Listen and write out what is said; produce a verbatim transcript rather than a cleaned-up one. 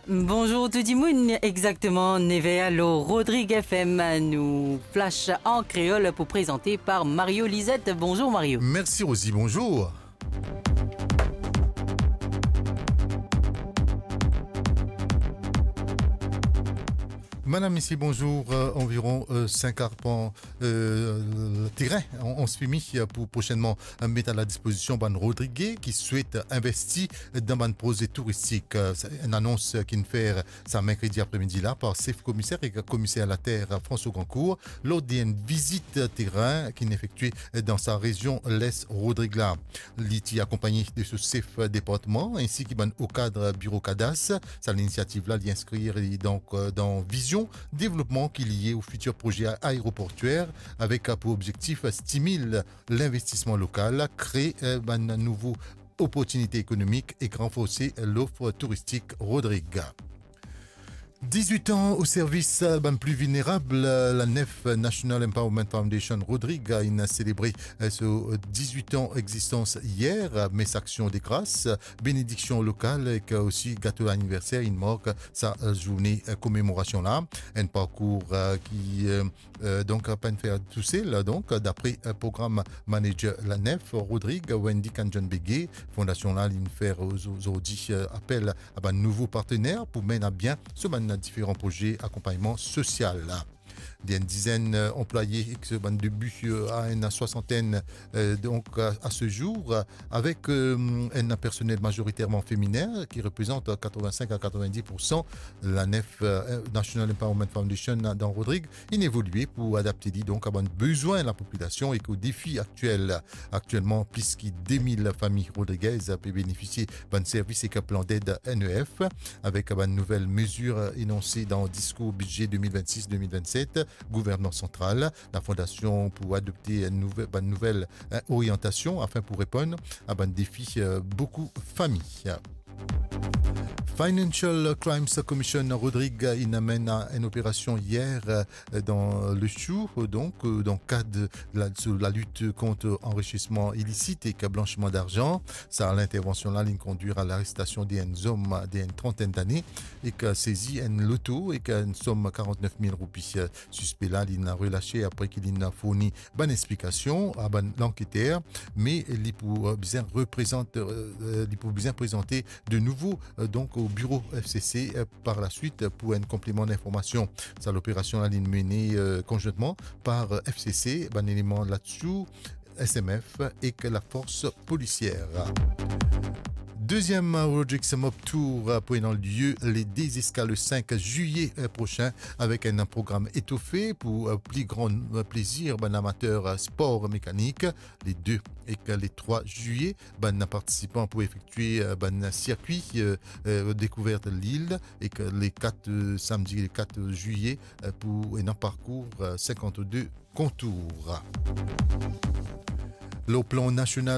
Bonzour tou dimoun, exakteman nev er lor Rodrig F M, nou flash an kreol pou prezante par Mario Lizette. Bonzour Mario. Mersi Rosie, bonzour. Madam, mesie, bonzour. Euh, anviron, euh, sink arpan, euh, terin, on, onz fimi, euh, pou prosennman, euh, met a la dispozision bann Rodrige ki swet, euh, investi dan bann proze touristik. Euh, se enn anons, euh, ki'nn fer sa merkredi apremidi la par sef komiser ek komiser later, euh, François Gancourt, lor de enn vizit, euh, terin ki'nn efektwe, euh, dan sa rezion Les Rodrig la. Li ti akonpagne de so sef, euh, departman, ensi ki bann o kad, euh, biro kadas. Sa linisiativ la, li inskrir li donk, euh, dan vizion devlopman ki lie o fitir proze aeroportwer avek, euh, pou obzektif, euh, stimil linvestisman lokal, kre, euh, bann nouvo oportinite ekonomik ek ranforse lof touristik Rodrig. Dizwit an o servis, euh, bann pli vilnerab, euh, la NEF, National Empowerment Foundation Rodrig, inn selebre, euh, so dizwit an egzistans yer, euh, mes aksion de gras, benediksion lokal ek, euh, osi gato laniverser inn mark sa, euh, zourne, euh, komemorasion la. Enn parkour, euh, ki, euh, euh, donk, euh, pa'nn fer tousel, donk, euh, dapre, euh, program manager la NEF, Rodrig, Wendy Kanjon Bege. Fondasion la, li'nn fer, euh, zo-, zordi, euh, apel a bann nouvo partner pou menn a bien so bann diferan proze akonpagnman sosial. De enn dizenn, euh, anplwaye ek so bann debi, euh, a enn swasantenn, euh, donk, a, a se zour, euh, avek, euh, enn personel mazoriterman feminen ki reprezant, euh, katrovin-sink a katrovin-dis poursan. La NEF, euh, National Empowerment Foundation, dan Rodrig, inn evolye pou adapte li donk a bann bezwin lapopilasion ek o defi aktiel. Aktielman, plis ki de mil fami rodrigez pe benefisie bann servis ek plan ded N E F, avek bann nouvel mezir enonse dan diskour bidze de mil vennsis de mil vennset gouvernman santral. La fondasion pou adopte enn nouve-, bann nouvel, eh, oriantasion afin pou reponn a bann defi, eh, boukou fami. Financial Crimes Commission Rodrig inn amenn enn operasion yer, eh, dan Lesiou, donk, eh, dan kad la, sou lalit kont anrisisman ilisit ek blansiman larzan. Sa lintervansion la, li'nn kondwir a larestasion de enn zom de enn trantenn dane, ek sezi enn loto ek enn som karantnef mil roupi. Sispe la, li'nn relase apre ki li'nn fourni bann explikasion a bann lanketer, me li pou, eh, bizin reprezant, eh, eh, li pou bizin prezante de nouvo, eh, donk o biro F C C, eh, par laswit, eh, pou enn konpleman linformasion. Sa loperasion la, li'nn mene, eh, konzwintman par, eh, F C C, bann eleman Lesiou, S M F ek lafors polisier. Deziem Rodrigues Mob Tour pou ena lie le de ziska le sink zilye, eh, prosin, avek enn program etofe pou, eh, pli gran, eh, plezir bann amater, eh, spor mekanik. Le de ek le trwa zilye, bann partisipan pou efektwe, eh, bann sirkwi, eh, eh, dekouvert lil, ek le kat, eh, samdi le kat zilye, eh, pou ena parkour, eh, sinkant-de kontour. Lor plan nasional,